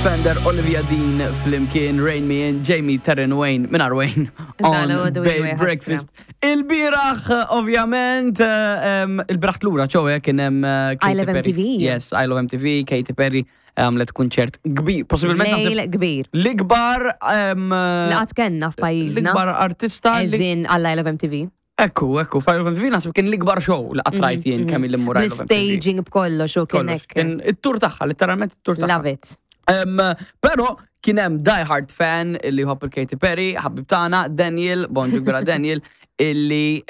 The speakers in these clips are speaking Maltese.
Fender, Olivia Dean flimkien Rain Me In, Jamie Terran Wayne, minn Wayne on Dal-għodu Bay iwa Breakfast. Il-biraħ, ovvjament, il-biraħ tlura, ċowe, kien hemm I Katy Love Perry. MTV. Yes, I Love MTV, Katy Perry għamlet kunċert kbir, possibilment naħseb Lejl kbir. l-ikbar Li qatt kellna f'pajjiżna. l-ikbar artista li Eżin għall I Love MTV. Ekku, ekku, Fire of MTV naħseb kien l-ikbar show li qatt rajt jien kemm il-immur I Love MTV. L-staging b'kollox u kien Kollox. hekk. Kien it-tur tagħha, letteralment it-tur tagħha. Love it. Pero kien hemm die hard fan illi jħobb il-Katy Perry, ħabib tagħna Daniel, bonġu kbira Daniel, illi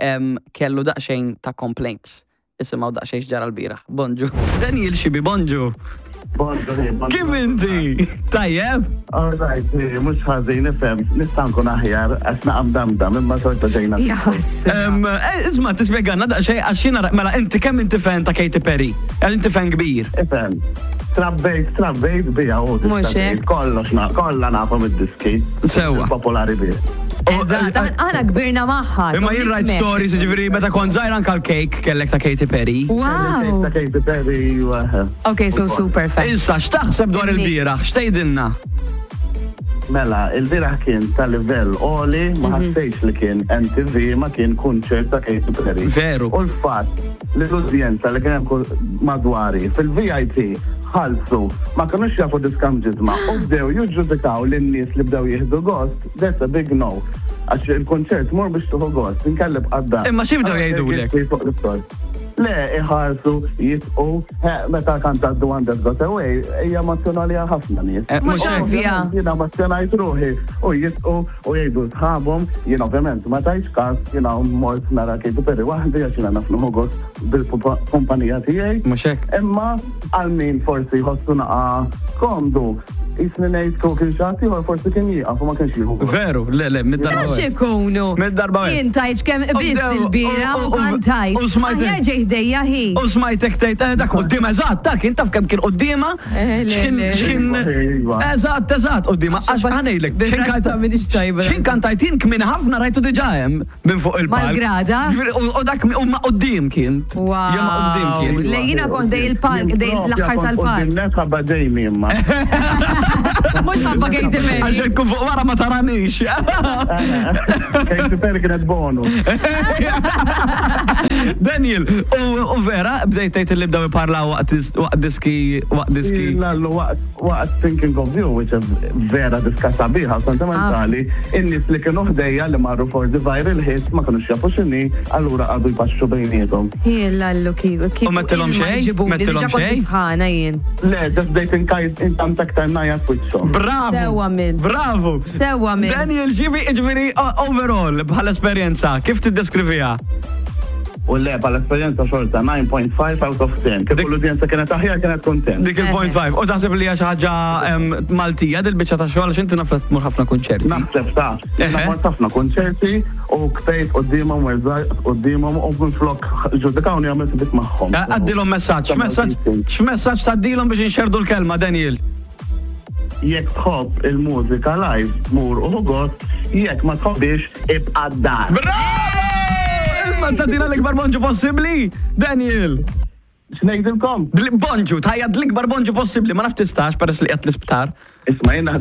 kellu daqsxejn ta' complaints. Isimgħu daqsxejn x'ġara l-bieraħ. Bonġu. Daniel Xibi, bonġu. Bonġu, bonġu. Kif inti? Tajjeb? All right, mhux ħażin ifhem, nista' nkun aħjar għax naqam damdam imma xorta ġejna. Jas. Isma' tispjegana daqsxejn għax jiena mela inti kemm inti fan ta' Katy Perry? Għal inti fan kbir. Ifhem, trabbejt, trabbejt bija u Mhux hekk? kollox na, kollha nafhom id-diski. Sewwa. Popolari bih. Eżatt, aħna kbirna magħha. Imma so jien rajt nifhmek. stories, ġifieri meta kont żgħir anke l-cake kellek ta' Katy Perry. Wow. Ta' Katy Perry. Ok, so super fan. Issa, x'taħseb dwar Inni. il-bieraħ? X'tgħidilna? Mela, il-bieraħ kien ta' livell għoli, ma ħassejx li kien MTV, ma kien kunċert ta' Katy Perry. Veru. U l-fatt li l-udjenza li kien hemm madwari fil-VIP ħalsu, ma kinux jafu diskam ġisma u bdew jiġġudikaw lin-nies li bdew jieħdu gost, that's a big no. Għax il-konċert mur biex tieħu gost, inkelleb għadda. Imma xi bdew jgħidulek? Fuq l-istor. Le, iħarsu, jisqu, meta kanta The One That Got Away, hija emozjonali għal ħafna nies. Mhux Mhux hekk. ovvja. Jiena emozjonajt ruħi u jisqu u jgħidu sħabhom, jien ovvjament ma tajx każ, jiena mort nara Katy Perry waħdi għax jiena naf nieħu gost bil-kumpanija tiegħi. Mhux hekk. Imma għal min forsi jħossu naqa komdu, jisni ngħid kieku kien xi ħadd ieħor forsi kien jieqaf u ma kienx jieħu gost. Veru, le, le, mid-darba. Għax ikunu. Mid-darba wieħed. Jien tajt kemm biss bdew- il-bira u- u u- kantajt. u smajt- Aħjar ġej ħdejja hi. U smajtek tgħid, dak quddiem eżatt, dak kien taf kemm kien quddiema. Le, X'kien le. x'kien Iva. Eżatt, eżatt, quddiema għax ħanejlek. bil-rassa m'iniex tajba. X'in kantajt jien kmin ħafna rajtu diġà hemm minn fuq il-palk. Mal-grada? Ġifieri, U dak u ma quddiem kien. Wow. Jew ma quddiem kien. Le, jiena kont dej il-palk, dej l-aħħar tal-palk. Net ħabba Jamie imma. Mhux ħabba Katy Perry. Għax tkun fuq wara ma taranix. Katy Perry kienet bonus. Daniel, u vera, bdejt tgħid li bdew iparlaw waqt diski, waqt diski. Lallu waqt Thinking of You, which is vera diska sabiħa, sentimentali, in-nies li kienu ħdejja li marru for the viral hit ma kinux jafu x'inhi, allura qagħdu jpaxxu bejniethom. Lallu kieku. U mettilhom xejn? Mettilhom Diġà kont xejn? sħana jien. Le, just bdejt inkajt intant aktar ngħajjat f'wiċċhom. Bravo! Sewwa minn. Bravo! Sewwa minn. Daniel, ġibi, ġifieri, overall, bħala esperjenza, kif tiddeskriviha? U le, bħala esperjenza xorta 9.5 out of 10. Kif l-udjenza kienet aħjar kienet kontent. Dik il-point 5. U taħseb li hija xi ħaġa Maltija dil-biċċa ta' xogħol għax inti naf li tmur ħafna kunċerti. Naħseb ta' jiena mort ħafna kunċerti u ktejt quddiemhom u rżajt quddiemhom u minflok ġudikawni għamilt dik magħhom. Għaddilhom messaġġ, x'messaġġ, x'messaġġ tgħaddilhom biex inxerrdu l-kelma, Daniel? Jekk tħobb il-mużika live, mur u ħu gost, jekk ma tħobbhiex, ibqa' d-dar. Bravo! Imma tagħtina l-ikbar bonġu possibbli, Daniel! X'ngħidilkom? Bonġu, tgħajjat l-ikbar bonġu possibbli, ma nafx tistax peress li qiegħed l-isptar. Isma' jien naħdem.